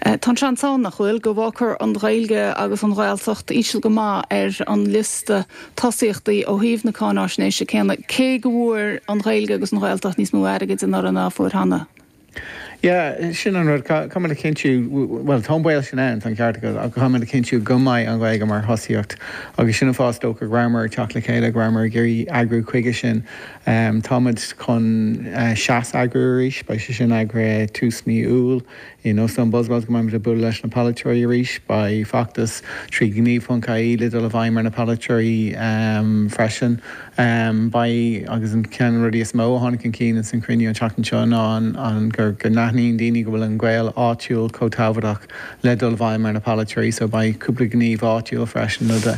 Tá an seans ann, nach bhfuil, go bhfágfar an Ghaeilge agus an Ghaeltacht íseal go maith ar an liosta tosaíochtaí ó thaobh na cáináisnéise céanna, cé go bhfuair an Ghaeilge agus an Ghaeltacht níos mó airgid anuraidh ná a fuair cheana. Yeah, sin an rud, caithfimid a chinntiú, bhuel, tá an baol sin ann, tá an ceart agat, ach caithfimid a chinntiú go mbeidh an Ghaeilge mar thosaíocht agus sin an fáth is dócha go rabhamar ag teacht le chéile, go rabhamar ag iarraidh eagrú chuige sin. Táimid chun Seas a eagrú arís, beidh sé sin eagraithe tús mí Iúil. In Óstán Buswells go mbeimid ag bualadh leis na polaiteoirí arís. Beidh feachtas trí gníomh.ie le dul i bhfeidhm ar na polaiteoirí freisin. Beidh, agus an ceann de na rudaí is mó a tháinig chun cinn ins an chruinniú an tseachtain seo ná an go n-aithníonn daoine go bhfuil an gaol áitiúil chomh tábhachtach le dul i bhfeidhm ar na polaiteoirí so beidh cúpla gníomh áitiúil freisin le.